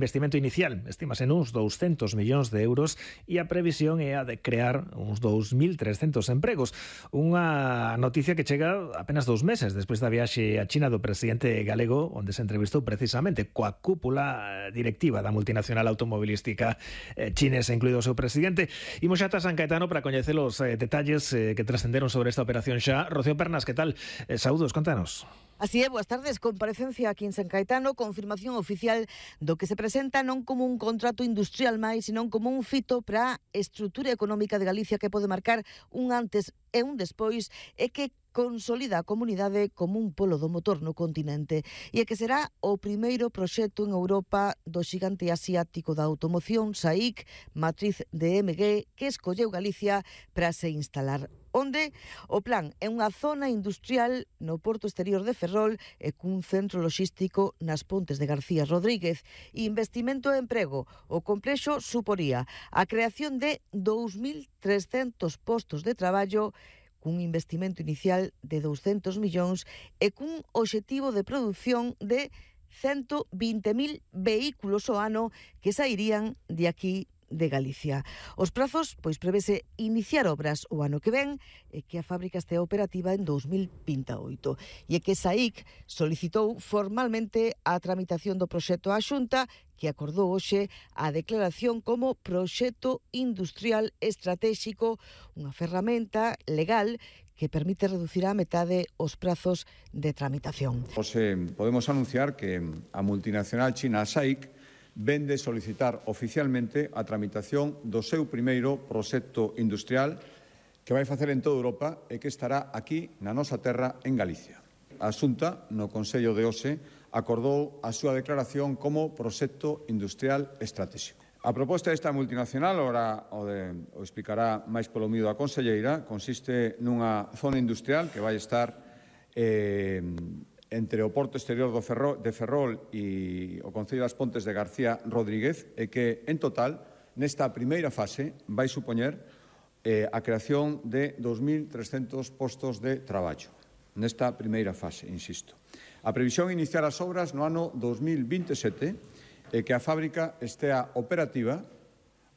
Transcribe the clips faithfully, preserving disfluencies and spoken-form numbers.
Investimento inicial estímase nuns douscentos millóns de euros e a previsión é a de crear uns dous mil trescentos empregos. Unha noticia que chega apenas dous meses despois da viaxe a China do presidente galego, onde se entrevistou precisamente coa cúpula directiva da multinacional automobilística chinesa, incluído o seu presidente. Imos xa ata San Caetano para coñecer os eh, detalles eh, que trascenderon sobre esta operación xa. Rocío Pernas, que tal? Eh, saúdos, contanos. Así é, boas tardes. Comparecencia aquí en San Caetano, confirmación oficial do que se presenta non como un contrato industrial máis, senón como un fito para a estrutura económica de Galicia que pode marcar un antes e un despois e que consolida a comunidade como un polo do motor no continente e que será o primeiro proxecto en Europa do xigante asiático da automoción SAIC, matriz de M G, que escolleu Galicia para se instalar. Onde o plan é unha zona industrial no porto exterior de Ferrol e cun centro logístico nas Pontes de García Rodríguez. Investimento e emprego. O complexo suporía a creación de dous mil trescentos postos de traballo cun investimento inicial de douscentos millóns e cun obxectivo de produción de ciento vinte mil vehículos ao ano que sairían de aquí de Galicia. Os prazos, pois prevese iniciar obras o ano que ven e que a fábrica estea operativa en dous mil vinte e oito. E é que SAIC solicitou formalmente a tramitación do proxecto á Xunta, que acordou hoxe a declaración como proxecto industrial estratégico, unha ferramenta legal que permite reducir á metade os prazos de tramitación. Hoxe podemos anunciar que a multinacional china SAIC vende solicitar oficialmente a tramitación do seu primeiro proxecto industrial que vai facer en toda Europa e que estará aquí na nosa terra en Galicia. A Xunta, no Consello de hoxe, acordou a súa declaración como proxecto industrial estratégico. A proposta desta multinacional, ora o, de, o explicará máis polo mío a conselleira, consiste nunha zona industrial que vai estar eh, entre o porto exterior do Ferrol, de Ferrol e o Concello das Pontes de García Rodríguez e que, en total, nesta primeira fase vai supoñer eh, a creación de dous mil trescentos postos de traballo. Nesta primeira fase, insisto. A previsión é iniciar as obras no ano dous mil vinte e sete e que a fábrica estea operativa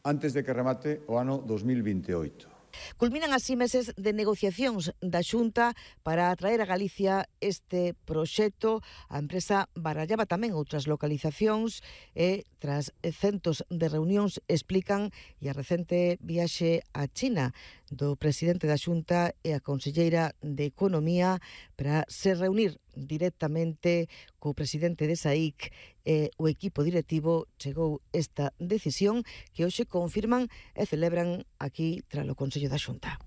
antes de que remate o ano dous mil vinte e oito. Culminan así meses de negociacións da Xunta para atraer a Galicia este proxecto. A empresa barallaba tamén outras localizacións e, tras centos de reunións, explican e a recente viaxe a China do presidente da Xunta e a conselleira de Economía para se reunir directamente co presidente de SAIC e o equipo directivo, chegou esta decisión que hoxe confirman e celebran aquí tras o Consello da Xunta.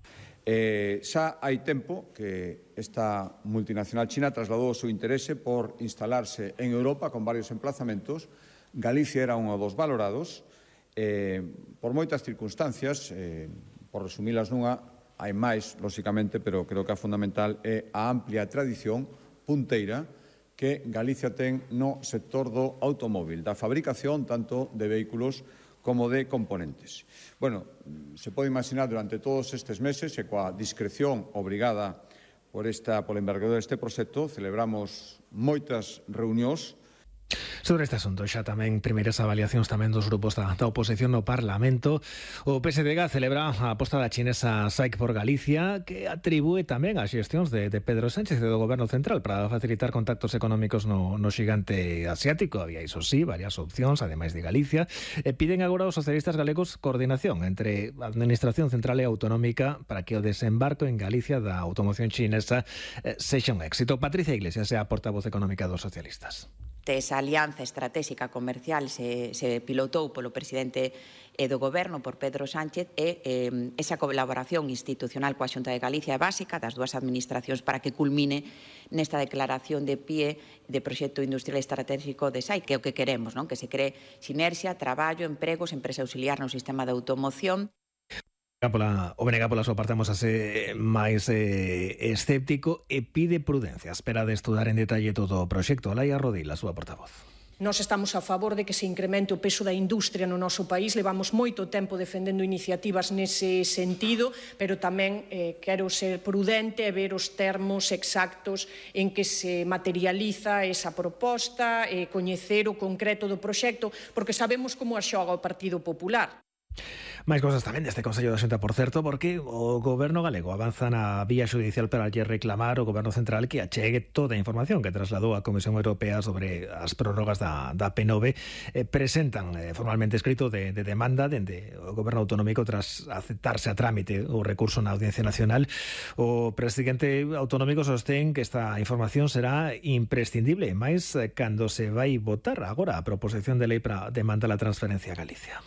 Eh, xa hai tempo que esta multinacional china trasladou o seu interese por instalarse en Europa con varios emplazamentos. Galicia era un dos valorados eh, por moitas circunstancias, eh, por resumilas nunha, hai máis, lóxicamente, pero creo que a fundamental é a amplia tradición punteira que Galicia ten no sector do automóvil, da fabricación tanto de vehículos como de componentes. Bueno, se pode imaginar durante todos estes meses e coa discreción obrigada por esta, pola envergadura deste proxecto, celebramos moitas reunións. Sobre este asunto xa tamén primeiras avaliacións tamén dos grupos da, da oposición no Parlamento. O P S D G celebra a aposta da chinesa SAIC por Galicia, que atribúe tamén as xestións de, de Pedro Sánchez e do Goberno Central para facilitar contactos económicos no, no xigante asiático. Había, iso sí, varias opcións, ademais de Galicia. E piden agora aos socialistas galegos coordinación entre a Administración Central e Autonómica para que o desembarco en Galicia da automoción chinesa eh, sexa un éxito. Patricia Iglesias é a portavoz económica dos socialistas. Esa alianza estratégica comercial se, se pilotou polo presidente e do Goberno, por Pedro Sánchez, e eh, esa colaboración institucional coa Xunta de Galicia é básica das dúas administracións para que culmine nesta declaración de pie de proxecto industrial estratégico de SAIC, que é o que queremos, non? Que se cree sinerxia, traballo, empregos, empresa auxiliar no sistema de automoción. Pola, o B N G pola súa parte amosase máis eh, escéptico e pide prudencia. Espera de estudar en detalle todo o proxecto. Laia Rodil, a súa portavoz. Nós estamos a favor de que se incremente o peso da industria no noso país, levamos moito tempo defendendo iniciativas nese sentido, pero tamén eh, quero ser prudente e ver os termos exactos en que se materializa esa proposta, e coñecer o concreto do proxecto, porque sabemos como a xoga o Partido Popular. Máis cosas tamén deste Consello da Xunta, por certo, porque o Goberno galego avanza na vía xudicial para lle reclamar ao Goberno central que achegue toda a información que trasladou a Comisión Europea sobre as prórrogas da, da P nove. Eh, presentan eh, formalmente escrito de, de demanda dende o Goberno autonómico tras aceptarse a trámite o recurso na Audiencia Nacional. O presidente autonómico sostén que esta información será imprescindible, máis cando se vai votar agora a proposición de lei para demandar a transferencia a Galicia.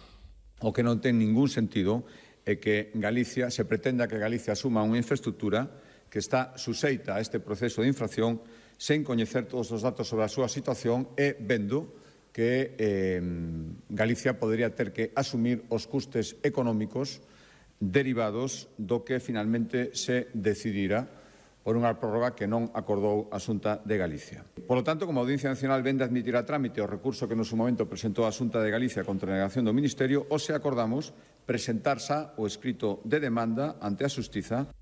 O que non ten ningún sentido é que Galicia, se pretenda que Galicia asuma unha infraestructura que está suxeita a este proceso de infracción sen coñecer todos os datos sobre a súa situación e vendo que eh, Galicia podría ter que asumir os custes económicos derivados do que finalmente se decidirá por unha prórroga que non acordou a Xunta de Galicia. Por lo tanto, como a Audiencia Nacional vende admitir a trámite o recurso que no seu momento presentou a Xunta de Galicia contra a negación do Ministerio, hoxe acordamos presentar xa o escrito de demanda ante a Xustiza.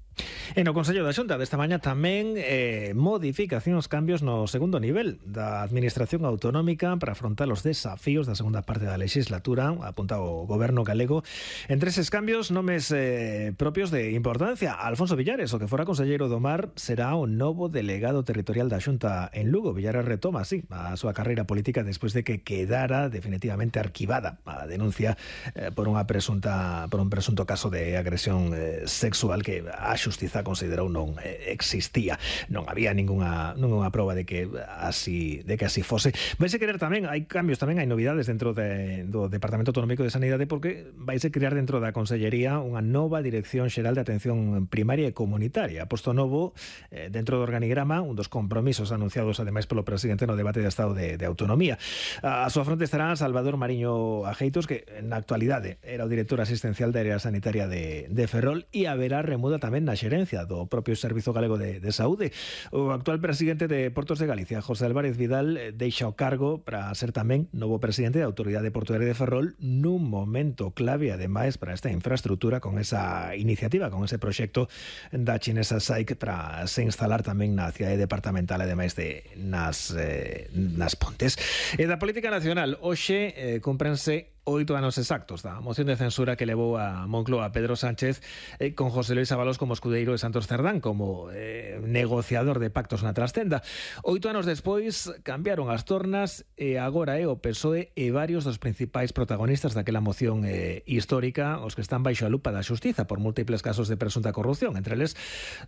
E no Consello da Xunta desta mañá tamén eh, modificacións, cambios no segundo nivel da Administración Autonómica para afrontar os desafíos da segunda parte da legislatura, apunta o Goberno galego. Entre eses cambios, nomes eh, propios de importancia. Alfonso Villares, o que fora conselleiro do Mar, será o novo delegado territorial da Xunta en Lugo. Villares retoma, así, a súa carreira política despois de que quedara definitivamente arquivada a denuncia eh, por unha presunta por un presunto caso de agresión eh, sexual que a Xustiza considerou non existía. Non había ningunha ningunha proba de que así de que así fose. Vaise querer tamén, hai cambios tamén, hai novidades dentro de, do Departamento Autonómico de Sanidade, porque vaise crear dentro da Consellería unha nova Dirección Xeral de Atención Primaria e Comunitaria. Posto novo eh, dentro do organigrama, un dos compromisos anunciados ademais polo presidente no debate de Estado de, de Autonomía. A súa fronte estará Salvador Mariño Ajeitos, que na actualidade era o director asistencial da área sanitaria de, de Ferrol, e haberá remuda tamén na xerencia do propio Servizo Galego de, de Saúde. O actual presidente de Portos de Galicia, José Álvarez Vidal, deixa o cargo para ser tamén novo presidente da Autoridade Portuaria de Ferrol nun momento clave, ademais, para esta infraestructura, con esa iniciativa, con ese proxecto da chinesa S A I C para se instalar tamén na cidade departamental, ademais de nas, eh, nas Pontes. E da política nacional, hoxe eh, cúmprense oito anos exactos da moción de censura que levou a Moncloa a Pedro Sánchez, eh, con José Luis Ábalos como escudeiro de Santos Cerdán, como eh, negociador de pactos na trastenda. Oito anos despois cambiaron as tornas e agora é eh, o P S O E e varios dos principais protagonistas daquela moción eh, histórica os que están baixo a lupa da xustiza por múltiples casos de presunta corrupción. Entre eles,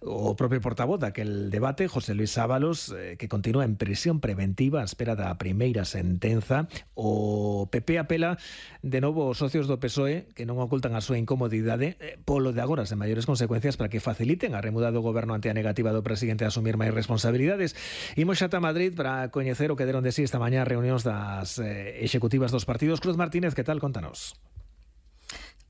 o propio portavoz daquel debate, José Luis Ábalos, eh, que continúa en prisión preventiva á espera da primeira sentenza. O P P apela de novo os socios do P S O E que non ocultan a súa incomodidade eh, polo de agora sen maiores consecuencias para que faciliten a remuda do goberno ante a negativa do presidente a asumir máis responsabilidades. Imos xa a Madrid para coñecer o que deron de sí esta mañá reunións das eh, executivas dos partidos. Cruz Martínez, que tal? Contanos.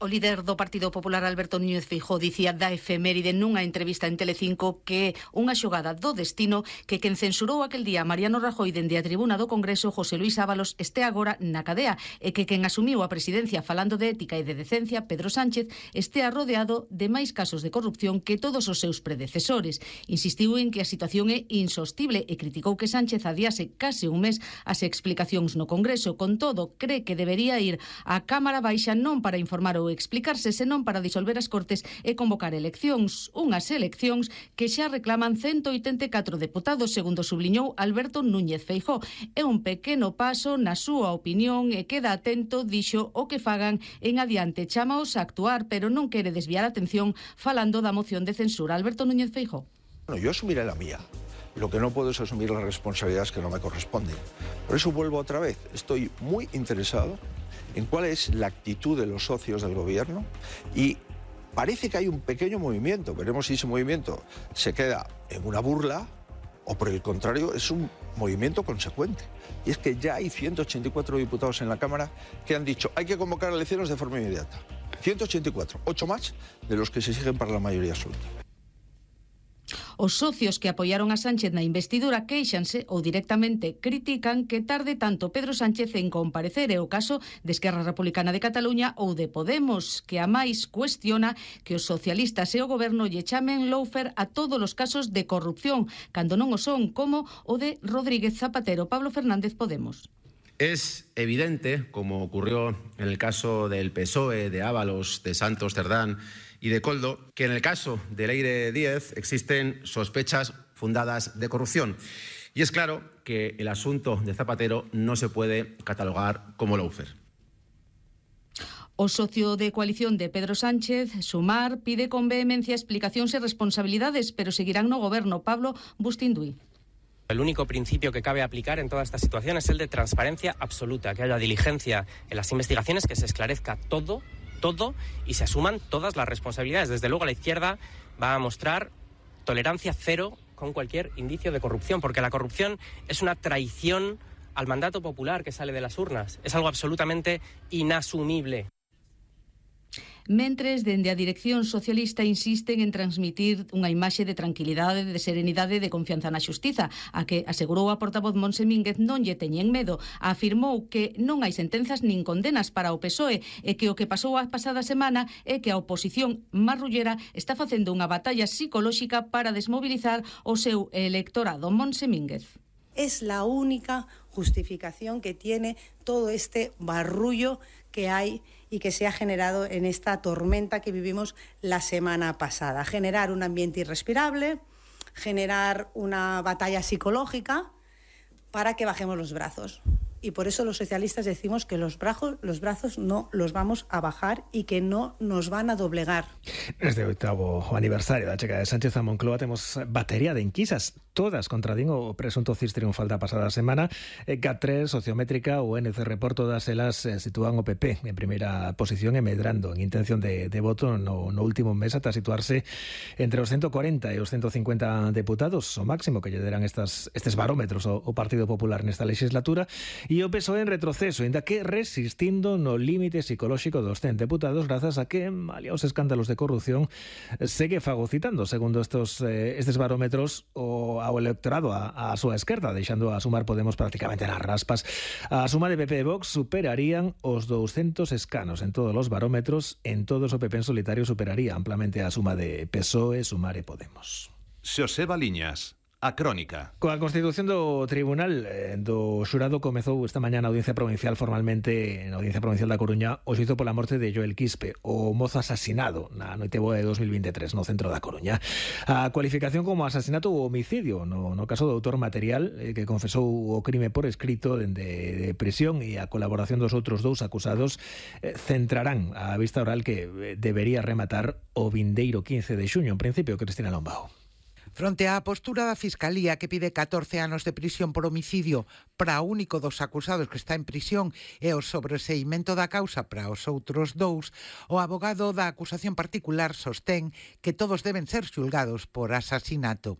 O líder do Partido Popular, Alberto Núñez Feijóo, dicía da efeméride nunha entrevista en Telecinco que unha xogada do destino que quen censurou aquel día Mariano Rajoy dende a tribuna do Congreso, José Luis Ábalos, este agora na cadea, e que quen asumiu a presidencia falando de ética e de decencia, Pedro Sánchez, estea rodeado de máis casos de corrupción que todos os seus predecesores. Insistiu en que a situación é insostible e criticou que Sánchez adiase case un mes as explicacións no Congreso. Con todo, cree que debería ir á Cámara Baixa non para informar ou explicarse, senón para disolver as Cortes e convocar eleccións. Unhas eleccións que xa reclaman ciento oitenta e catro deputados, segundo subliñou Alberto Núñez Feijóo. É un pequeno paso na súa opinión e queda atento, dixo, o que fagan en adiante. Chámaos a actuar, pero non quere desviar a atención falando da moción de censura. Alberto Núñez Feijóo. Bueno, yo asumiré la mía. Lo que no puedo es asumir las responsabilidades que no me corresponden. Por eso vuelvo otra vez. Estoy muy interesado en cuál es la actitud de los socios del gobierno y parece que hay un pequeño movimiento. Veremos si ese movimiento se queda en una burla o, por el contrario, es un movimiento consecuente. Y es que ya hay ciento ochenta y cuatro diputados en la Cámara que han dicho hay que convocar elecciones de forma inmediata. ciento ochenta y cuatro, ocho más de los que se exigen para la mayoría absoluta. Os socios que apoiaron a Sánchez na investidura queixanse ou directamente critican que tarde tanto Pedro Sánchez en comparecer, é o caso de Esquerra Republicana de Cataluña ou de Podemos, que a máis cuestiona que os socialistas e o goberno lle chamen lawfare a todos os casos de corrupción, cando non o son, como o de Rodríguez Zapatero. Pablo Fernández, Podemos. Es evidente, como ocurrió en el caso del P S O E, de Ábalos, de Santos Cerdán y de Coldo, que en el caso de Leire Díez existen sospechas fundadas de corrupción. Y es claro que el asunto de Zapatero no se puede catalogar como lawfare. O socio de coalición de Pedro Sánchez, Sumar, pide con vehemencia explicacións e responsabilidades, pero seguirán no goberno. Pablo Bustinduy. El único principio que cabe aplicar en toda esta situación es el de transparencia absoluta, que haya diligencia en las investigaciones, que se esclarezca todo, todo y se asuman todas las responsabilidades. Desde luego la izquierda va a mostrar tolerancia cero con cualquier indicio de corrupción, porque la corrupción es una traición al mandato popular que sale de las urnas. Es algo absolutamente inasumible. Mentres, dende a dirección socialista insisten en transmitir unha imaxe de tranquilidade, de serenidade e de confianza na xustiza, a que asegurou a portavoz Montse Mínguez non lle teñen medo. Afirmou que non hai sentenzas nin condenas para o P S O E e que o que pasou a pasada semana é que a oposición marrullera está facendo unha batalla psicolóxica para desmobilizar o seu electorado. Montse Mínguez. Es la única justificación que tiene todo este barrullo que hay y que se ha generado en esta tormenta que vivimos la semana pasada. Generar un ambiente irrespirable, generar una batalla psicológica para que bajemos los brazos. Y por eso los socialistas decimos que los brazos, los brazos no los vamos a bajar y que no nos van a doblegar. Este oitavo aniversario da chega de Sánchez a Moncloa temos batería de enquisas, todas contradín o presunto cis triunfal da pasada semana. C A T tres, Sociométrica ou N C Report, todas elas sitúan o P P en primeira posición e medrando en intención de, de voto no, no último mes ata situarse entre os ciento cuarenta e os ciento cincuenta deputados, o máximo que lle deran estas, estes barómetros o, o Partido Popular nesta legislatura. E o P S O E en retroceso, ainda que resistindo no límite psicolóxico dos cen deputados, grazas a que, malia os escándalos de corrupción, segue fagocitando, segundo estos eh, estes barómetros, o, ao electorado a, a súa esquerda, deixando a Sumar Podemos prácticamente nas raspas. A suma de P P e Vox superarían os douscentos escanos en todos os barómetros, en todos o P P en solitario superaría amplamente a suma de P S O E, Sumar e Podemos. Xoseba Liñas. A crónica. Coa constitución do Tribunal eh, do Xurado comezou esta mañá na Audiencia Provincial formalmente na Audiencia Provincial da Coruña o xuízo pola morte de Joel Quispe, o mozo asasinado na noite boa de dos mil veintitrés no centro da Coruña. A cualificación como asasinato ou homicidio no, no caso do autor material eh, que confesou o crime por escrito dende de prisión, e a colaboración dos outros dous acusados eh, centrarán a vista oral que eh, debería rematar o vindeiro quince de xuño. En principio, Cristina Lombao. Fronte á postura da Fiscalía, que pide catorce anos de prisión por homicidio para o único dos acusados que está en prisión e o sobreseimento da causa para os outros dous, o abogado da acusación particular sostén que todos deben ser xulgados por asasinato.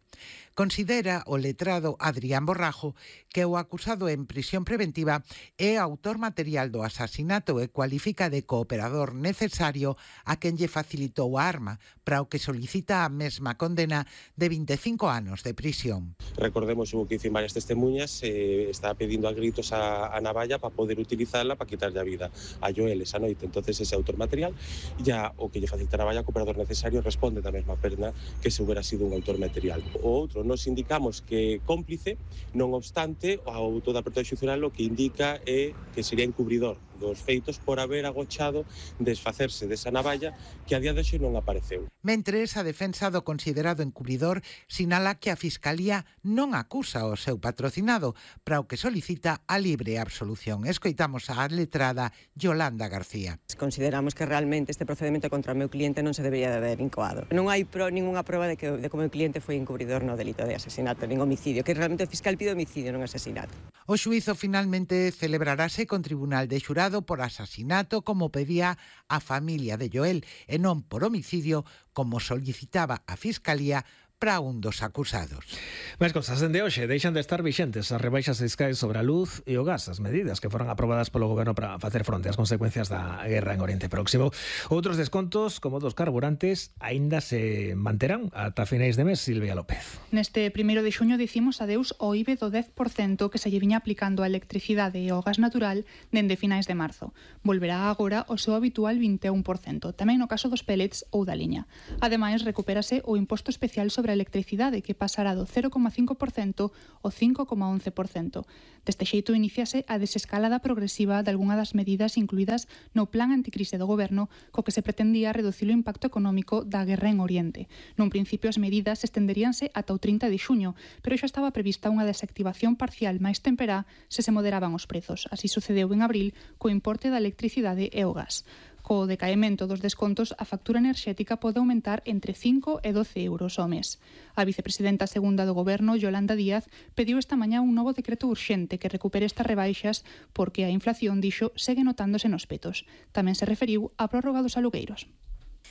Considera o letrado Adrián Borrajo que o acusado en prisión preventiva é autor material do asasinato e cualifica de cooperador necesario a quen lle facilitou a arma, para o que solicita a mesma condena de veinticinco anos de prisión. Recordemos, hubo que dicir varias testemunhas, eh, está pedindo a gritos a, a navalla para poder utilizarla para quitarlle a vida a Joel esa noite. Entonces ese autor material, ya o que lle facilita a navalla, cooperador necesario, responde da mesma pena que se hubiera sido un autor material. O outro, nos indicamos que cómplice, non obstante, o auto da apertura xudicial o que indica é que sería encubridor dos feitos por haber agochado desfacerse desa navalla que a día de hoxe non apareceu. Mentres, a defensa do considerado encubridor sinala que a Fiscalía non acusa o seu patrocinado, para o que solicita a libre absolución. Escoitamos a letrada Yolanda García. Consideramos que realmente este procedimento contra o meu cliente non se debería de haber incoado. Non hai pro, ninguna proba de que, de que o meu cliente foi encubridor no delito de asesinato, nin homicidio, que realmente o fiscal pide homicidio, non asesinato. O xuízo finalmente celebrarase con tribunal de xurado por asasinato, como pedía a familia de Joel, e non por homicidio, como solicitaba a Fiscalía para un dos acusados. Máis cosas, dende hoxe deixan de estar vixentes as rebaixas fiscais sobre a luz e o gas, as medidas que foron aprobadas polo goberno para facer fronte ás consecuencias da guerra en Oriente Próximo. Outros descontos, como dos carburantes, aínda se manterán ata finais de mes. Silvia López. Neste primeiro de xuño dicimos adeus ao I V E do dez por cento que se lle viña aplicando a electricidade e ao gas natural dende finais de marzo. Volverá agora o seu habitual vinte e un por cento, tamén no caso dos pellets ou da liña. Ademais, recupérase o imposto especial sobre a electricidade, que pasará do cero coma cinco por cento ao cinco coma once por cento. Deste xeito, iníciase a desescalada progresiva de algunha das medidas incluídas no plan anticrise do goberno, co que se pretendía reducir o impacto económico da guerra en Oriente. Nun principio, as medidas estenderíanse ata o trinta de xuño, pero xa estaba prevista unha desactivación parcial máis temperá se se moderaban os prezos. Así sucedeu en abril co importe da electricidade e o gas. Co decaemento dos descontos, a factura enerxética pode aumentar entre cinco e doce euros ao mes. A vicepresidenta segunda do goberno, Yolanda Díaz, pediu esta mañá un novo decreto urxente que recupere estas rebaixas porque a inflación, dixo, segue notándose nos petos. Tamén se referiu á prórroga dos alugueiros.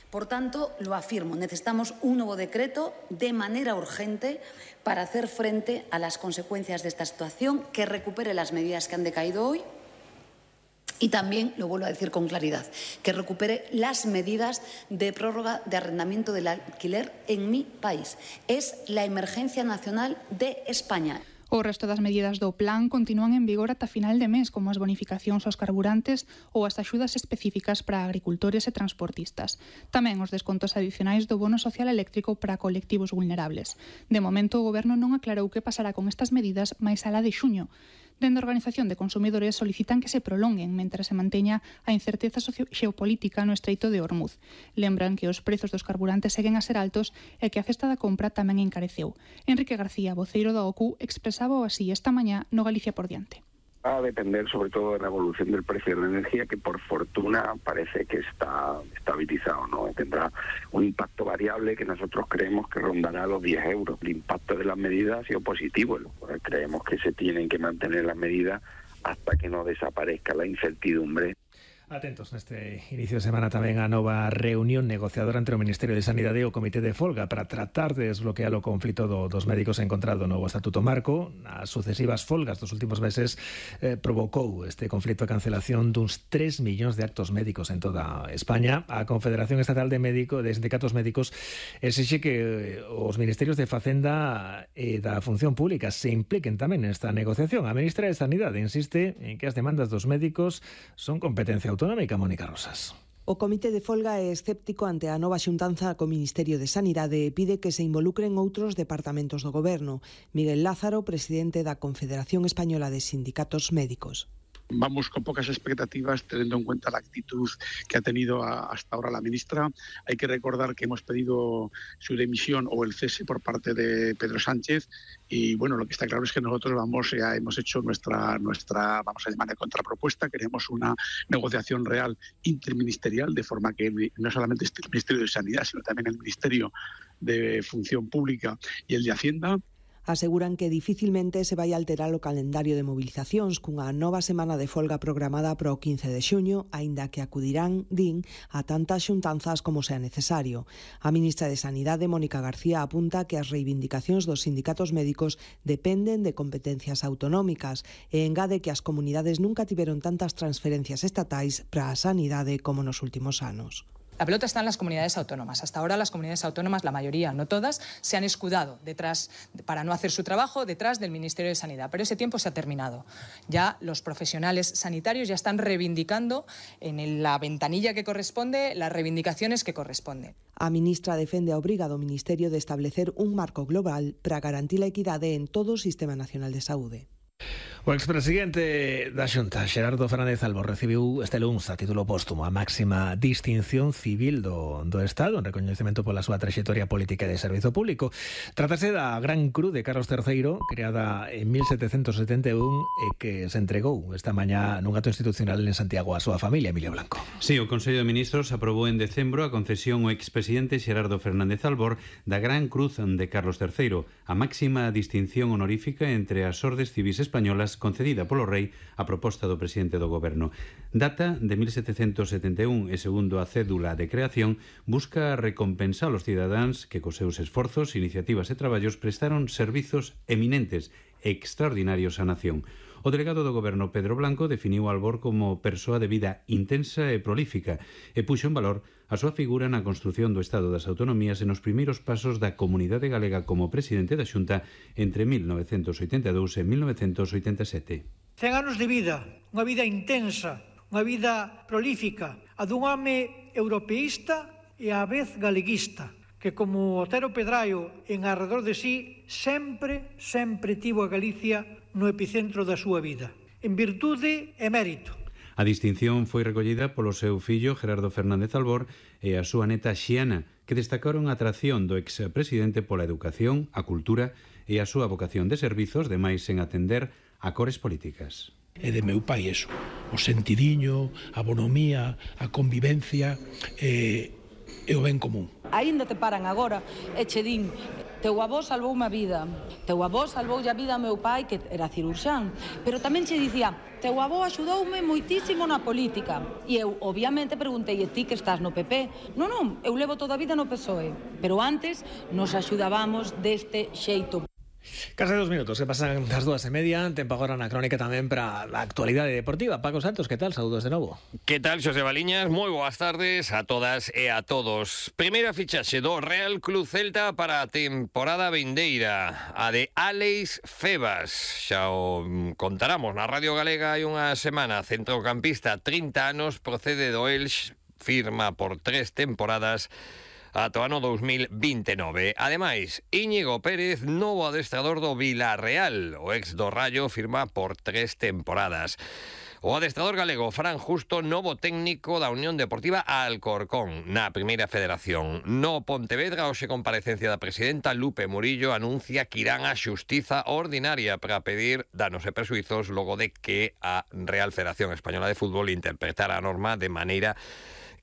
Por tanto, lo afirmo, necesitamos un nuevo decreto de manera urgente para hacer frente a las consecuencias de esta situación, que recupere las medidas que han decaído hoy y también, lo vuelvo a decir con claridad, que recupere las medidas de prórroga de arrendamiento del alquiler en mi país. Es la emergencia nacional de España. O resto das medidas do plan continúan en vigor ata final de mes, como as bonificacións aos carburantes ou as axudas específicas para agricultores e transportistas. Tamén os descontos adicionais do bono social eléctrico para colectivos vulnerables. De momento, o goberno non aclarou que pasará con estas medidas máis alá de xuño. Dende a Organización de Consumidores solicitan que se prolonguen mentre se manteña a incerteza xeopolítica no Estreito de Hormuz. Lembran que os prezos dos carburantes seguen a ser altos e que a cesta da compra tamén encareceu. Enrique García, voceiro da O C U, expresaba así esta mañá no Galicia por diante. Va a depender sobre todo de la evolución del precio de la energía, que por fortuna parece que está estabilizado, ¿no? Tendrá un impacto variable que nosotros creemos que rondará los diez euros. El impacto de las medidas ha sido positivo, creemos que se tienen que mantener las medidas hasta que no desaparezca la incertidumbre. Atentos neste inicio de semana tamén a nova reunión negociadora entre o Ministerio de Sanidade e o Comité de Folga para tratar de desbloquear o conflito do, dos médicos encontrado no novo Estatuto Marco. As sucesivas folgas dos últimos meses eh, provocou este conflito a cancelación duns tres millóns de actos médicos en toda España. A Confederación Estatal de Médico, de Sindicatos Médicos exixe que os Ministerios de Facenda e da Función Pública se impliquen tamén nesta negociación. A ministra de Sanidade insiste en que as demandas dos médicos son competencia autonómica. Autonómica, Mónica Rosas. O Comité de Folga é escéptico ante a nova xuntanza co Ministerio de Sanidade e pide que se involucren outros departamentos do goberno. Miguel Lázaro, presidente da Confederación Española de Sindicatos Médicos. Vamos con pocas expectativas, teniendo en cuenta la actitud que ha tenido a, hasta ahora la ministra. Hay que recordar que hemos pedido su dimisión o el cese por parte de Pedro Sánchez y bueno, lo que está claro es que nosotros vamos ya hemos hecho nuestra nuestra vamos a llamar contrapropuesta. Queremos una negociación real interministerial, de forma que no solamente esté el Ministerio de Sanidad, sino también el Ministerio de Función Pública y el de Hacienda. Aseguran que dificilmente se vai alterar o calendario de movilizacións cunha nova semana de folga programada para o quince de xuño, aínda que acudirán, din, a tantas xuntanzas como sea necesario. A ministra de Sanidade, Mónica García, apunta que as reivindicacións dos sindicatos médicos dependen de competencias autonómicas e engade que as comunidades nunca tiveron tantas transferencias estatais para a sanidade como nos últimos anos. La pelota está en las comunidades autónomas. Hasta ahora las comunidades autónomas, la mayoría, no todas, se han escudado detrás, para no hacer su trabajo, detrás del Ministerio de Sanidad. Pero ese tiempo se ha terminado. Ya los profesionales sanitarios ya están reivindicando en la ventanilla que corresponde las reivindicaciones que corresponden. A ministra defende a obriga do Ministerio de establecer un marco global para garantir a equidade en todo o Sistema Nacional de Saúde. O expresidente da Xunta, Xerardo Fernández Albor, recibiu este luns a título póstumo a máxima distinción civil do, do Estado en recoñecemento pola súa traxectoria política e de servizo público. Trátase da Gran Cruz de Carlos terceiro, creada en mil setecentos setenta e un e que se entregou esta mañá nun acto institucional en Santiago a súa familia, Emilio Blanco. Sí, o Consello de Ministros aprobou en decembro a concesión ao expresidente Xerardo Fernández Albor da Gran Cruz de Carlos terceiro, a máxima distinción honorífica entre as ordes civis españolas concedida polo rei a proposta do presidente do goberno. Data de mil setecentos setenta e un e segundo a cédula de creación busca recompensar os cidadáns que cos seus esforzos, iniciativas e traballos prestaron servizos eminentes e extraordinarios á nación. O delegado do goberno Pedro Blanco definiu a Albor como persoa de vida intensa e prolífica e puxo en valor a súa figura na construción do Estado das Autonomías e nos primeiros pasos da comunidade galega como presidente da Xunta entre mil novecentos oitenta e dous e mil novecentos oitenta e sete. Cen anos de vida, unha vida intensa, unha vida prolífica, a dun home europeísta e á vez galeguista, que como Otero Pedraio en arredor de sí sempre, sempre tivo a Galicia no epicentro da súa vida, en virtude e mérito. A distinción foi recollida polo seu fillo Gerardo Fernández Albor e a súa neta Xiana, que destacaron a atracción do expresidente pola educación, a cultura e a súa vocación de servizos, demais en atender a cores políticas. E de meu pai eso, o sentidiño, a bonomía, a convivencia e, e o ben común. Aínda te paran agora e che din: teu avó salvoume a vida, teu avó salvoulle a vida a meu pai, que era cirurxán, pero tamén che dicía: teu avó axudoume moitísimo na política. E eu, obviamente, preguntei: e ti que estás no P P? Non, non, eu levo toda a vida no P S O E, pero antes nos axudábamos deste xeito. Case dos minutos, que pasan das dúas e media. Tempo agora na crónica tamén para a actualidade deportiva. Paco Santos, que tal? Saúdos de novo. Que tal, Xosé Baliñas? Moi boas tardes a todas e a todos. Primeira fichaxe do Real Club Celta para a temporada vindeira, a de Álex Febas. Xa o contaramos na Radio Galega hai unha semana. Centrocampista, trinta anos, procede do Elx, firma por tres temporadas ata o ano dos mil vinte e nove. Ademais, Íñigo Pérez, novo adestrador do Vilarreal. O ex do Rayo firma por tres temporadas. O adestrador galego Fran Justo, novo técnico da Unión Deportiva Alcorcón na Primeira Federación. No Pontevedra, hoxe comparecencia da presidenta Lupe Murillo, anuncia que irán á xustiza ordinaria para pedir danos e persuizos logo de que a Real Federación Española de Fútbol interpretara a norma de maneira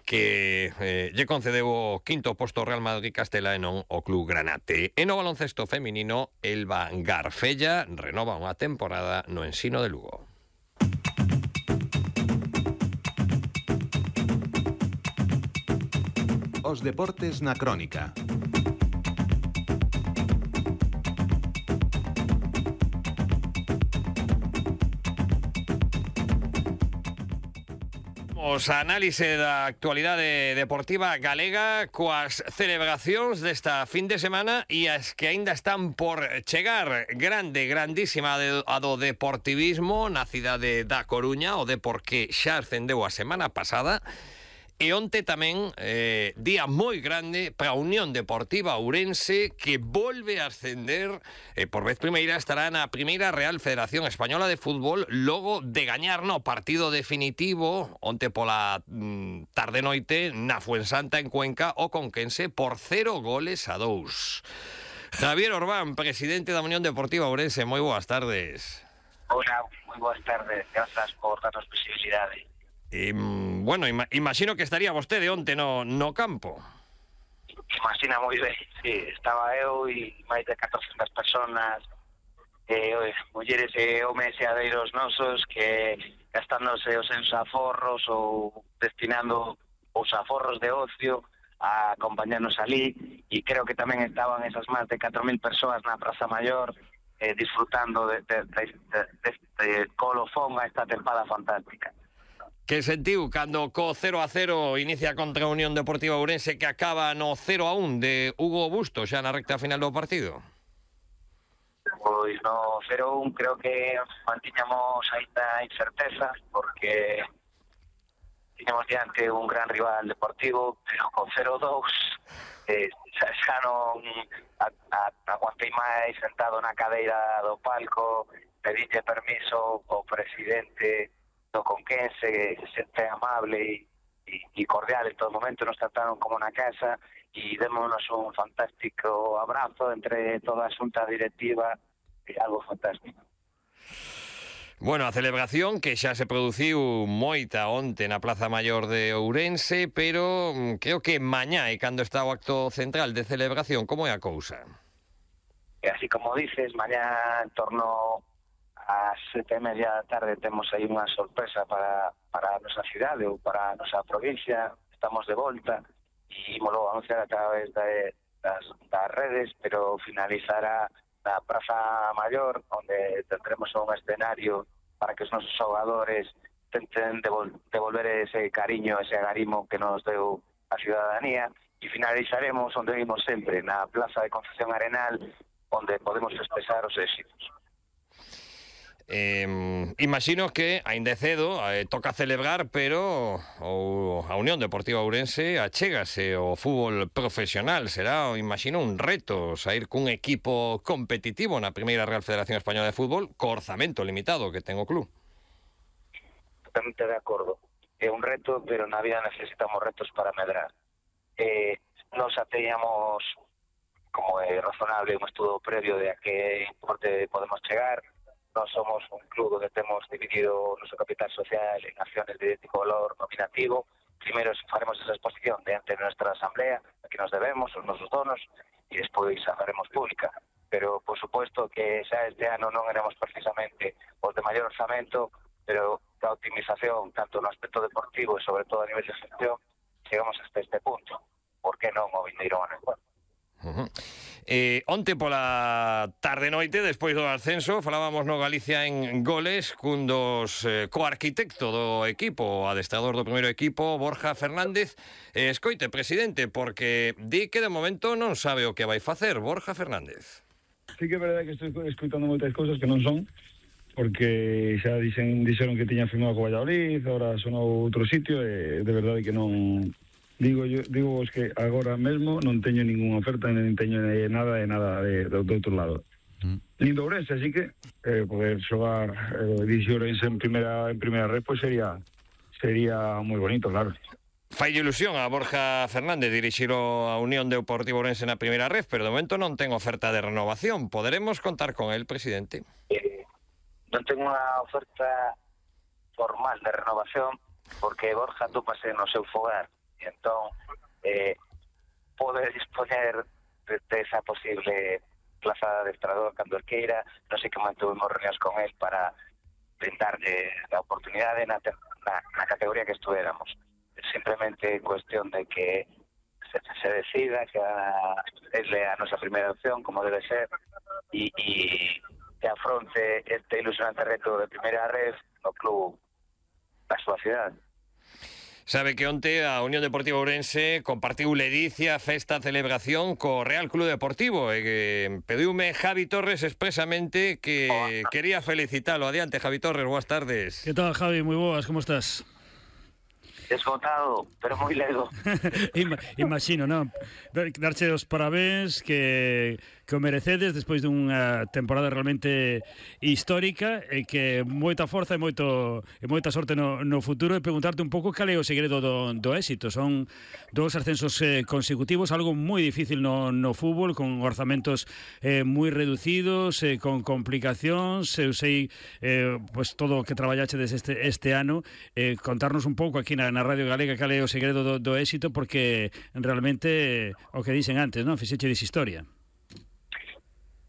que eh, lle concedeu o quinto posto Real Madrid Castela e non o Club Granate. E no baloncesto feminino, Elba Garfella renova unha temporada no Ensino de Lugo. Os deportes na crónica. A análise da actualidade deportiva galega coas celebracións desta fin de semana e as que aínda están por chegar. Grande, grandísima a do deportivismo na cidade da Coruña, o Depor que xa ascendeu a semana pasada. E onte tamén, eh, día moi grande para a Unión Deportiva Ourense, que volve a ascender, eh, por vez primeira estará na Primeira Real Federación Española de Fútbol, logo de gañar no partido definitivo onte pola mm, tarde-noite na Fuensanta en Cuenca o Conquense por cero goles a dous. Javier Orbán, presidente da Unión Deportiva Ourense, moi boas tardes. Hola, moi boas tardes, grazas por darnos visibilidade. Eh, bueno, ima imagino que estaría vostede onte no, no campo. Imagina moi ben, sí, estaba eu e máis de catorcentas personas, eh, mulleres e homes e adeiros nosos que gastándose os seus aforros ou destinando os aforros de ocio a acompañarnos ali, e creo que tamén estaban esas máis de catro mil persoas na Praza Maior eh, disfrutando de, de, de, de, de, de colofón a esta tempada fantástica. Que sentiu cando co cero a cero inicia contra a Unión Deportiva Ourense, que acaba no cero a un de Hugo Busto xa na recta final do partido? Pois no cero a un creo que mantiñamos aínda incerteza, porque tiñamos diante un gran rival deportivo, pero con cero a dous eh, xa, xa non a, a, aguantei máis sentado na cadeira do palco, pedille permiso ao presidente do Conquense, que se sente amable e cordial en todo momento, nos trataron como na casa e démonos un fantástico abrazo entre toda a xunta directiva, e algo fantástico. Bueno, a celebración que xa se produciu moita onte na Plaza Maior de Ourense, pero creo que mañá é cando está o acto central de celebración. Como é a cousa? E así como dices, mañá en torno ás sete e media da tarde temos aí unha sorpresa para, para a nosa cidade ou para a nosa provincia. Estamos de volta e ímolo anunciar a través de, das, das redes, pero finalizará na Praza Maior, onde tendremos un escenario para que os nosos xogadores tenten devol, devolver ese cariño, ese agarimo que nos deu a ciudadanía, e finalizaremos onde vimos sempre, na Plaza de Concepción Arenal, onde podemos expresar os éxitos. Eh, imagino que aínda é cedo, eh, toca celebrar, pero o, a Unión Deportiva Ourense achégase ao fútbol profesional. Será, imagino, un reto sair cun equipo competitivo na primeira Real Federación Española de Fútbol co orzamento limitado que ten o club. Totalmente de acordo. É un reto, pero na vida necesitamos retos para medrar. Eh, nos ateñamos, como é razonable, un estudo previo de a que importe podemos chegar. Nós somos un club onde temos dividido o noso capital social en acciones de idéntico valor nominativo. Primeiro faremos esa exposición diante de nuestra asamblea, a que nos debemos, os nosos donos, e despois a faremos pública. Pero, por suposto, que xa este ano non éramos precisamente os de maior orzamento, pero da optimización, tanto no aspecto deportivo e sobre todo a nivel de gestión, chegamos hasta este punto. Por que non o vindeiro ano? Uh -huh. Eh, onte pola tarde-noite, despois do ascenso, falábamos no Galicia en Goles cun dos eh, coarquitecto do equipo, o adestrador do primeiro equipo, Borja Fernández. Eh, escoite, presidente, porque di que de momento non sabe o que vai facer. Borja Fernández. Sí que é verdade que estou escoitando moitas cousas que non son, porque xa dixen, dixeron que tiña firmado co Valladolid, agora sonou outro sitio, e de verdade que non... Digo yo, digo vos que agora mesmo non teño ninguna oferta, nin teño nada de nada de, de, de outro lado. Mm. Nin do Ourense, así que eh, poder xogar eh, dirixir Ourense en primeira en primeira red, pues sería sería moi bonito, claro. Fai ilusión a Borja Fernández dirixir a Unión Deportiva Ourense na primeira red, pero de momento non ten oferta de renovación. Poderemos contar con el, presidente? Eh, non tengo unha oferta formal de renovación, porque Borja tópase no seu fogar. E entón, eh, pode disponer de, de esa posible plaza de adestrador cando el queira. Non sei que mantuvimos reunións con él para brindarlle a oportunidade na, na, na categoría que estuéramos. É simplemente cuestión de que se, se decida que a, es a nosa primeira opción, como debe ser, e, e que afronte este ilusionante reto de primeira red no club da súa cidade. Sabe que onte a Unión Deportiva Ourense compartiu ledicia, festa, celebración co Real Club Deportivo e que pediume Javi Torres expresamente que oh. quería felicitalo. Adiante, Javi Torres, boas tardes. Que tal, Javi? Moi boas, como estás? Desgotado, pero moi ledo. Imagino, non? Darche os parabéns que, que o merecedes despois dunha temporada realmente histórica e que moita forza e moito e moita sorte no, no futuro, e preguntarte un pouco cal é o segredo do, do éxito. Son dous ascensos eh, consecutivos, algo moi difícil no, no fútbol, con orzamentos eh, moi reducidos, eh, con complicacións. Eu sei eh, pues, todo o que traballachedes este, este ano, eh, contarnos un pouco aquí na na Radio Galega cal é o segredo do, do éxito, porque realmente o que dicen antes, non? Fixechedes historia.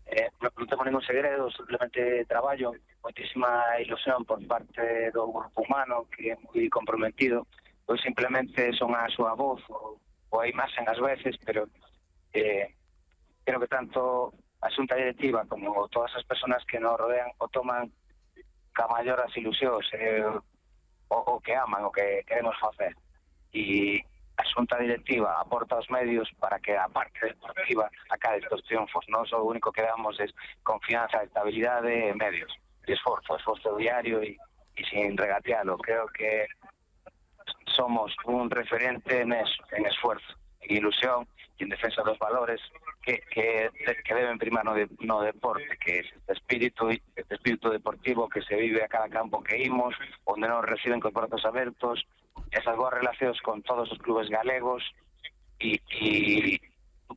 Eh, non temos ningún segredo, simplemente traballo, moitísima ilusión por parte do grupo humano, que é moi comprometido. Pois simplemente son a súa voz, ou, ou a imaxen ás veces, pero eh, creo que tanto a xunta directiva como todas as persoas que nos rodean o toman ca maior as ilusións, eh, O, o que aman, o que queremos facer. E a xunta directiva aporta os medios para que a parte deportiva acabe estes triunfos. Nós o único que damos é confianza, estabilidade e medios. E esforzo, esforzo diario e, e sin regatealo. Creo que somos un referente en eso, en esfuerzo, en ilusión e en defensa dos valores que, que, que deben primar no, de, no deporte, que é este espírito, este espírito deportivo que se vive a cada campo que imos, onde nos reciben con brazos abertos, esas boas relacións con todos os clubes galegos, e, e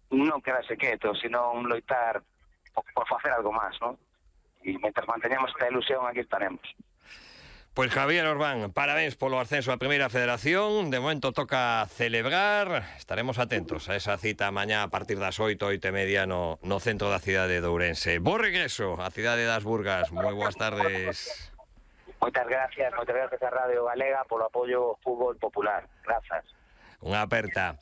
non quedarse quieto, sino un loitar por, por facer algo máis, non? E mentre manteñamos esta ilusión, aquí estaremos. Pois Javier Orbán, parabéns polo ascenso á Primeira Federación. De momento toca celebrar. Estaremos atentos a esa cita mañá a partir das oito, oito e media no, no centro da cidade de Ourense. Bo regreso á cidade das Burgas. Moi boas tardes. Moitas gracias, moitas gracias a Radio Galega polo apoio ao fútbol popular. Grazas. Unha aperta.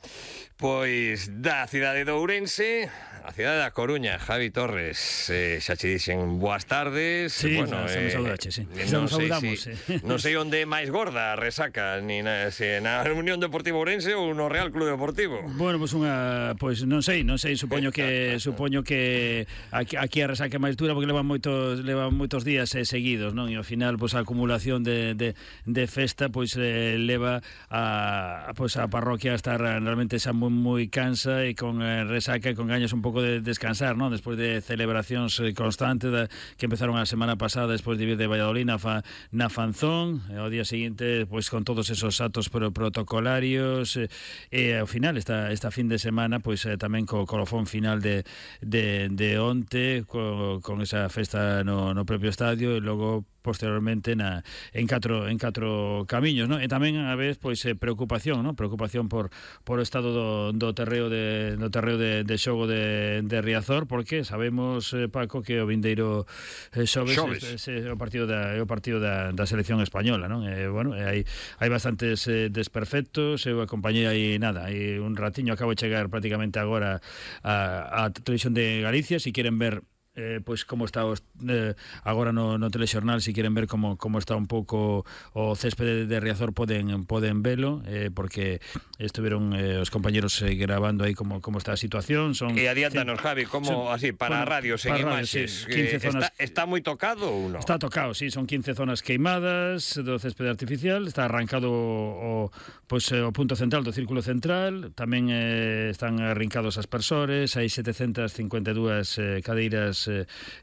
Pois da cidade de Ourense, a cidade da Coruña, Javi Torres, eh, xa che dixen boas tardes. Sí, bueno, xa, xa me eh, saudache, sí. Non Xa sei, saudamos, si, sí. non sei onde é máis gorda a resaca, ni na, se na Unión Deportiva Ourense ou no Real Club Deportivo. Bueno, pois pues unha, pois pues non sei, non sei, supoño que supoño que aquí, aquí a resaca é máis dura porque levan moitos levan moitos días eh, seguidos, non? E ao final pois pues, a acumulación de, de, de festa pois pues, eh, leva a pois pues, a parroquia a estar realmente xa moi moi cansa e con eh, resaca e con gañas un pouco de descansar, non? Despois de celebracións eh, constantes da, que empezaron a semana pasada despois de vir de Valladolid na, fa, na Fanzón, e ao día seguinte pois con todos esos actos pro, protocolarios e, e ao final esta, esta fin de semana pois eh, tamén co colofón final de, de, de onte co, con esa festa no, no propio estadio e logo posteriormente na, en catro en catro camiños, non? E tamén a vez pois eh, preocupación, non? Preocupación por por o estado do, do terreo de do terreo de, de xogo de, de Riazor, porque sabemos, eh, Paco, que o vindeiro eh, xoves, xoves. É, é, é o partido da é o partido da, da selección española, non? E bueno, e hai hai bastantes eh, desperfectos, eu acompañei aí nada, hai un ratiño, acabo de chegar prácticamente agora a, a Televisión de Galicia, si queren ver Eh, pois como está os, eh, agora no, no telexornal, se si queren ver como, como está un pouco o céspede de, de Riazor poden poden velo, eh, porque estuveron eh, os compañeros eh, grabando aí como, como está a situación. Son e adiántanos, Javi, como son, así, para bueno, radios en imaxes, sí, quince zonas, está, está moi tocado ou non? Está tocado, sí, son quince zonas queimadas do céspede artificial, está arrancado o, pois, o punto central do círculo central, tamén eh, están arrincados as aspersores, hai setecentas cincuenta e dúas eh, cadeiras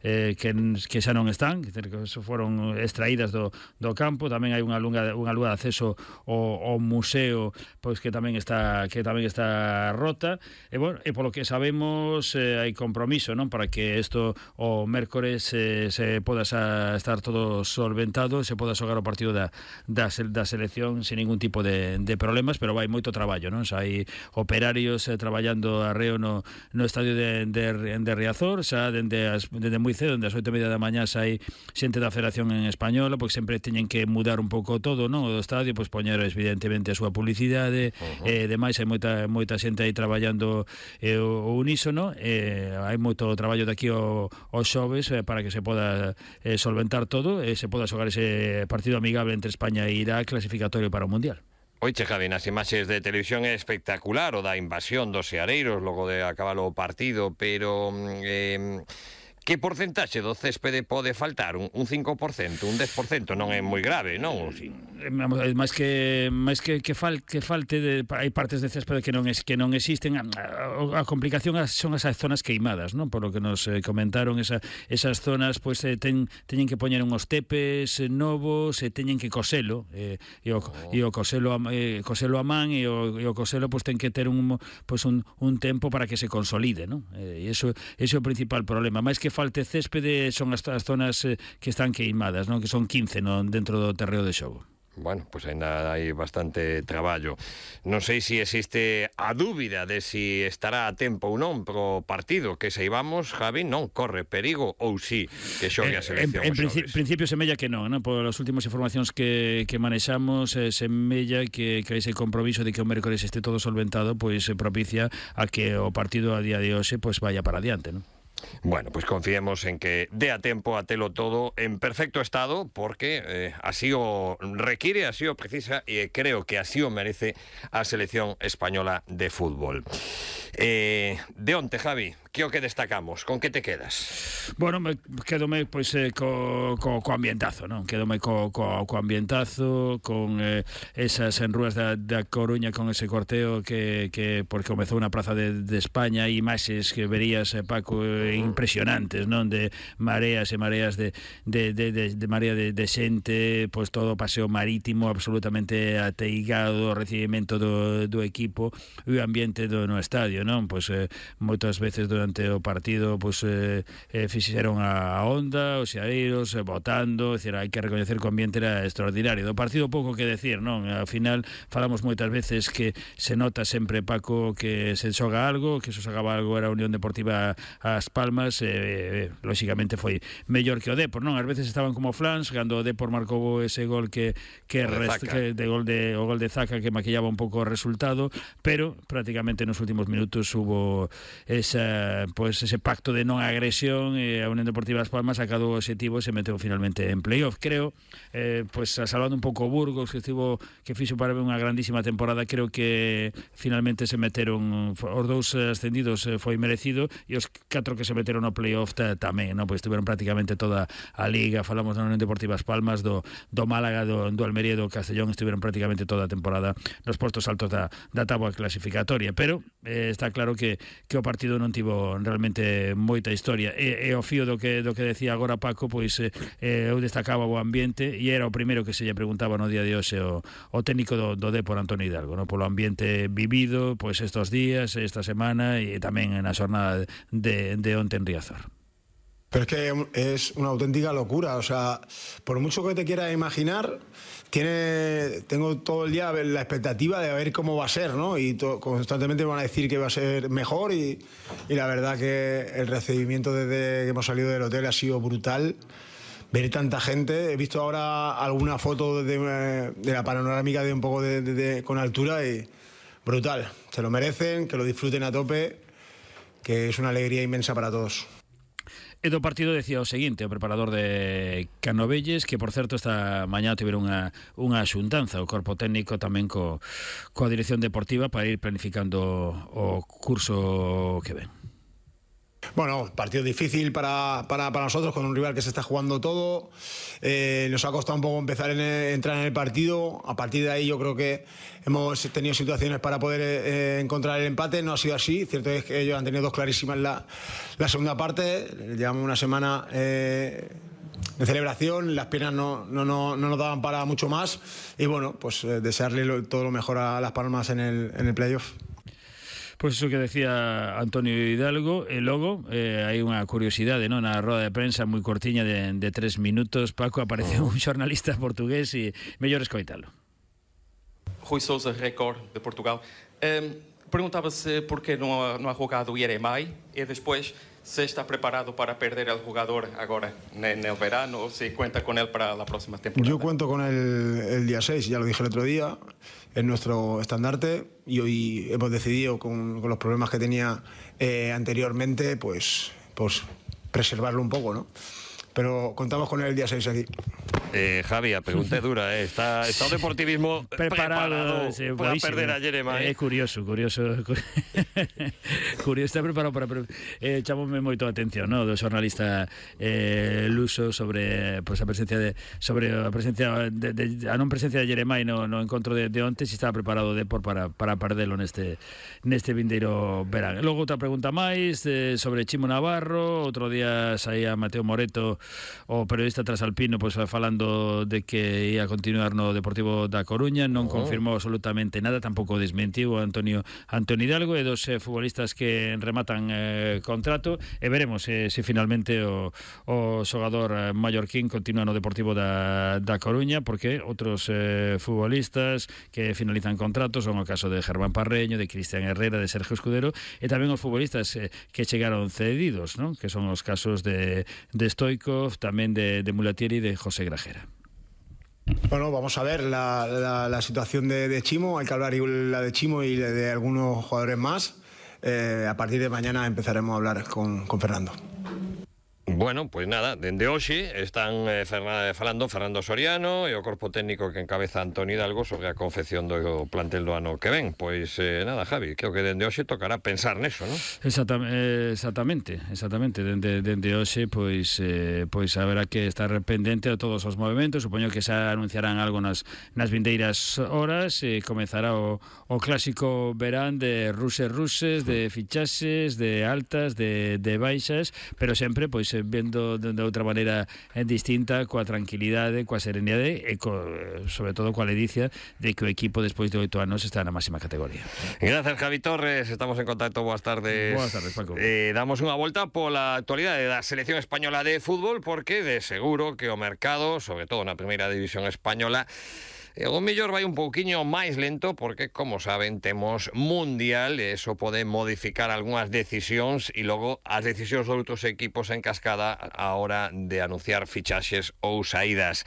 Eh, que, que xa non están, que foron extraídas do, do campo. Tamén hai unha lunga, unha lúa de acceso ao, ao museo, pois que tamén está que tamén está rota. E bueno, e polo que sabemos eh, hai compromiso, non, para que isto o mércores eh, se poda xa estar todo solventado, se poda xogar o partido da, da, da selección sin ningún tipo de, de problemas, pero vai moito traballo, non? Xa hai operarios eh, traballando arreo no, no estadio de, de, de Riazor, xa dende as, dende moi cedo, dende as oito e media da mañá xa hai xente da Federación en Española, porque sempre teñen que mudar un pouco todo, non? O do estadio, pois poñer evidentemente a súa publicidade, uh-huh. e demais hai moita moita xente aí traballando eh, o, o unísono, e hai moito traballo de aquí o, os xoves eh, para que se poda eh, solventar todo e se poda xogar ese partido amigable entre España e Irak, clasificatorio para o Mundial. Oiche, Javi, nas imaxes de televisión é espectacular o da invasión dos seareiros logo de acabar o partido, pero eh, que porcentaxe do céspede pode faltar? Un, un cinco por cento, un dez por cento non é moi grave, non? Sí. Máis que máis que que, fal, que falte de, hai partes de céspede que non es que non existen. A, a, a complicación son esas zonas queimadas, non? Por lo que nos eh, comentaron, esa, esas zonas pois pues, eh, ten, teñen que poñer unhos tepes eh, novos, e eh, teñen que coselo, eh, e o, oh. e o coselo a, eh, coselo a man, e o, e o coselo pois pues, ten que ter un pois pues, un, un tempo para que se consolide, non? Eh, e iso ese é o principal problema. Máis que falte céspede son as, as zonas eh, que están queimadas, non? Que son quince, non, dentro do terreo de xogo. Bueno, pois pues ainda hai bastante traballo. Non sei se existe a dúbida de si estará a tempo ou non pro partido que saibamos, Javi, non corre perigo ou si que xogue a selección. Eh, en en principio semella que non, non? Por as últimas informacións que, que manexamos, eh, semella que, que ese compromiso de que o mércores este todo solventado, pois pues, propicia a que o partido a día de hoxe pois pues, vaya para adiante, non? Bueno, pues confiemos en que dé a tempo a telo todo en perfecto estado, porque eh, así o requiere, así o precisa, e creo que así o merece a selección española de fútbol. Eh, de onte, Javi, que o que destacamos? Con que te quedas? Bueno, me quedome pois eh, co, co, co ambientazo, non? Quedome co, co, co ambientazo, con eh, esas enrúas da, da Coruña, con ese corteo que, que porque comezou na Praza de, de España, e imaxes que verías, eh, Paco, eh, impresionantes, non? De mareas e mareas de, de, de, de, de marea de, de xente, pois todo o paseo marítimo absolutamente ateigado, o recibimento do, do equipo e o ambiente do no estadio, non? Pois eh, moitas veces durante durante o partido pois eh, eh, fixeron a onda, os xareiros eh, votando, é dicir, hai que recoñecer que o ambiente era extraordinario. Do partido pouco que decir, non? Ao final falamos moitas veces que se nota sempre, Paco, que se xoga algo, que se xogaba algo era a Unión Deportiva As Palmas, eh, eh, lóxicamente foi mellor que o Depor, non? Ás veces estaban como flans, cando o Depor marcou ese gol que que, rest, que de gol de o gol de Zaca que maquillaba un pouco o resultado, pero prácticamente nos últimos minutos hubo esa, pues, ese pacto de non agresión e a Unión Deportiva As Palmas sacado o objetivo e se meteu finalmente en playoff. Creo, eh, pues salvando un pouco Burgos, que estivo que fixo para unha grandísima temporada, creo que finalmente se meteron os dous ascendidos, eh, foi merecido, e os catro que se meteron no playoff tamén, non? Pois estiveron prácticamente toda a liga. Falamos da Unión Deportiva As Palmas, do, do Málaga, do, do Almería e do Castellón, estiveron prácticamente toda a temporada nos postos altos da, da táboa clasificatoria, pero eh, está claro que, que o partido non tivo realmente moita historia, e, e o fío do que, do que decía agora Paco, pois eh, eu destacaba o ambiente, e era o primeiro que se lle preguntaba no día de hoxe o, o técnico do, do Depor, Antonio Hidalgo, no? Polo ambiente vivido pois estos días, esta semana, e tamén na xornada de, de onte en Riazor. Pero es que es una auténtica locura, o sea, por mucho que te quieras imaginar, tiene, tengo todo el día la expectativa de ver cómo va a ser, ¿no? Y to, constantemente me van a decir que va a ser mejor, y, y la verdad que el recibimiento desde que hemos salido del hotel ha sido brutal. Ver tanta gente, he visto ahora alguna foto de, de la panorámica de un poco de, de, de, con altura, y brutal. Se lo merecen, que lo disfruten a tope, que es una alegría inmensa para todos. E do partido decía o seguinte o preparador de Canovelles, que por certo esta mañá tiveron unha, unha xuntanza o corpo técnico tamén co, coa dirección deportiva para ir planificando o curso que ven. Bueno, partido difícil para, para, para nosotros, con un rival que se está jugando todo. Eh, nos ha costado un poco empezar en el, entrar en el partido. A partir de ahí yo creo que hemos tenido situaciones para poder eh, encontrar el empate. No ha sido así. Cierto es que ellos han tenido dos clarísimas la, la segunda parte. Llevamos una semana eh, de celebración. Las piernas no, no, no, no nos daban para mucho más. Y bueno, pues eh, desearle lo, todo lo mejor a Las Palmas en el, en el playoff. Pois pues iso que decía Antonio Hidalgo, e logo eh, hai unha curiosidade, non? Na roda de prensa moi cortiña de, de tres minutos, Paco, apareceu un xornalista portugués e mellor escoitalo. Rui Sousa, Record de Portugal. Um, Perguntava-se por que não ha, não ha jogado o Yeremai e depois se está preparado para perder el jugador ahora en el verano o si cuenta con él para la próxima temporada. Yo cuento con él el día seis, ya lo dije el otro día, es nuestro estandarte, y hoy hemos decidido con, con los problemas que tenía eh, anteriormente, pues, pues preservarlo un poco, ¿no? Pero contamos con él el día seis aquí. Eh, Javi, a pregunta dura, eh? está, está o deportivismo preparado, preparado sí, para perder a Yeremai. É eh, curioso, curioso curioso, está preparado para eh, chamoume moito a atención, no, do xornalista eh, Luso sobre pues, a presencia de sobre a presencia de, de, a non presencia de Yeremai no, no encontro de, de onte, si estaba preparado de por para, para perdelo neste neste vindeiro verán. Logo outra pregunta máis eh, sobre Chimo Navarro. Outro día saía Mateo Moreto, o periodista trasalpino, pois pues, falando de que ia continuar no Deportivo da Coruña, non oh. confirmou absolutamente nada, tampouco desmentiu Antonio Antonio Hidalgo, e dos eh, futbolistas que rematan eh, contrato, e veremos eh, se finalmente o, o xogador mallorquín continúa no Deportivo da, da Coruña, porque outros eh, futbolistas que finalizan contratos son o caso de Germán Parreño, de Cristian Herrera, de Sergio Escudero, e tamén os futbolistas eh, que chegaron cedidos, ¿no? Que son os casos de, de Stoico, también de, de Mulatieri y de José Grajera. Bueno, vamos a ver la, la, la situación de, de Chimo. Hay que hablar la de Chimo y de, de algunos jugadores más. Eh, a partir de mañana empezaremos a hablar con, con Fernando. Bueno, pois pues nada, dende hoxe están eh, falando Fernando Soriano e o corpo técnico que encabeza Antonio Hidalgo sobre a confección do plantel do ano que ven. Pois eh, nada, Javi, creo que dende hoxe tocará pensar neso, non? Exactamente, exactamente, exactamente. Dende, dende hoxe, pois, eh, pois haberá que estar pendente de todos os movimentos. Supoño que xa anunciarán algo nas, nas vindeiras horas, e comezará o, o clásico verán de ruses ruses, de fichaxes, de altas, de, de baixas, pero sempre, pois, vendo de, de outra maneira distinta, coa tranquilidade, coa serenidade e co, sobre todo coa ledicia de que o equipo despois de oito anos está na máxima categoría. Gracias, Javi Torres, estamos en contacto, boas tardes. Boas tardes, Paco. Eh, damos unha volta pola actualidade da selección española de fútbol, porque de seguro que o mercado, sobre todo na primeira división española, o mellor vai un pouquiño máis lento porque, como saben, temos Mundial e eso pode modificar algunhas decisións e logo as decisións de outros equipos en cascada a hora de anunciar fichaxes ou saídas.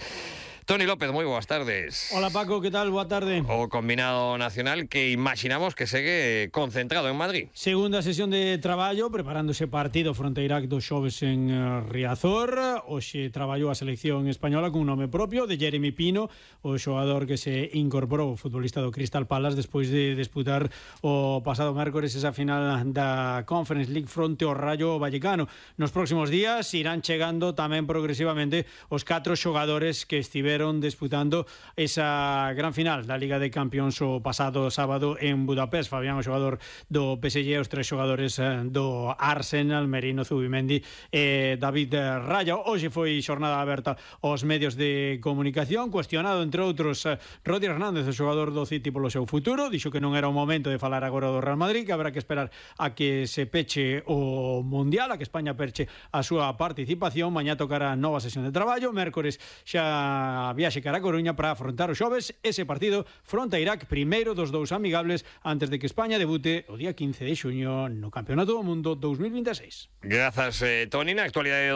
Toni López, moi boas tardes. Hola Paco, que tal? Boa tarde. O combinado nacional que imaginamos que segue concentrado en Madrid. Segunda sesión de traballo, preparándose partido fronte a Irak dos xoves en Riazor. Hoxe traballou a selección española con un nome propio, de Jeremy Pino, o xogador que se incorporou, o futbolista do Crystal Palace, despois de disputar o pasado mércores esa final da Conference League fronte ao Rayo Vallecano. Nos próximos días irán chegando tamén progresivamente os catro xogadores que estiveron disputando esa gran final da Liga de Campións o pasado sábado en Budapest. Fabián, o xogador do P S G, os tres xogadores do Arsenal, Merino, Zubimendi e David Raya. Hoxe foi xornada aberta aos medios de comunicación, cuestionado entre outros Rodi Hernández, o xogador do City, polo seu futuro. Dixo que non era o momento de falar agora do Real Madrid, que habrá que esperar a que se peche o Mundial, a que España perche a súa participación. Mañá tocará nova sesión de traballo, mércores xa viaxe cara a Coruña para afrontar os xoves ese partido fronte a Irak, primeiro dos dous amigables antes de que España debute o día quince de xuño no Campeonato do Mundo dos mil vinte e seis. Grazas, eh, Toni. Na actualidade